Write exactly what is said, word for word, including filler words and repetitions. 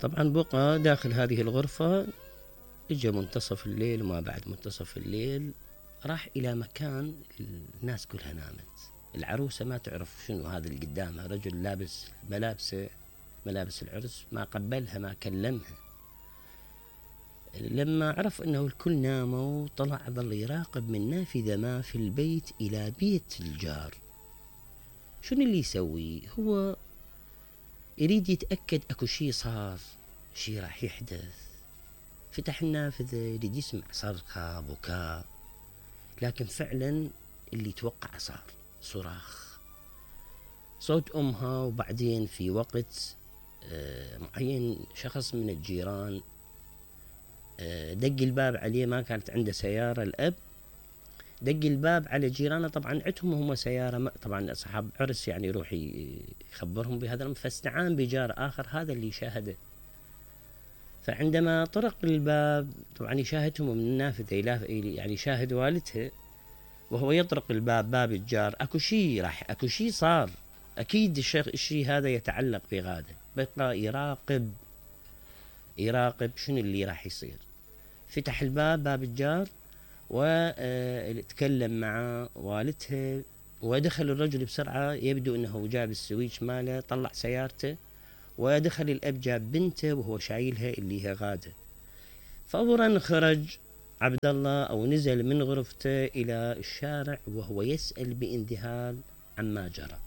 طبعا بقى داخل هذه الغرفة، اجى منتصف الليل وما بعد منتصف الليل راح إلى مكان الناس كلها نامت. العروسة ما تعرف شنو هذا اللي قدامها، رجل لابس ملابسه ملابس العرس، ما قبلها ما كلمها. لما عرف انه الكل ناموا طلع ظل يراقب من نافذة ما في البيت الى بيت الجار. شنو اللي يسوي؟ هو يريد يتأكد اكو شي صار، شي راح يحدث. فتح النافذة يريد يسمع صرخة بكاء، لكن فعلا اللي توقع صار، صراخ، صوت امها. وبعدين في وقت معين شخص من الجيران دق الباب عليه، ما كانت عنده سيارة الأب، دق الباب على جيرانه. طبعا عندهم هم سيارة، طبعا أصحاب عرس يعني يروح يخبرهم بهذا الأمر، فاستعان بجار آخر هذا اللي شاهده. فعندما طرق الباب طبعا يشاهدهم من النافذة، يعني يشاهد والدها وهو يطرق الباب، باب الجار، اكو شي راح اكو شي صار، اكيد الشيء هذا يتعلق بغادة. بقى يراقب يراقب شنو اللي راح يصير. فتح الباب، باب الجار، وتكلم مع والدها، ودخل الرجل بسرعة، يبدو انه جاب السويتش ماله، طلع سيارته، ودخل الاب جاب بنته وهو شايلها اللي هي غادة. فورا خرج عبد الله او نزل من غرفته الى الشارع وهو يسأل بانذهال عما جرى.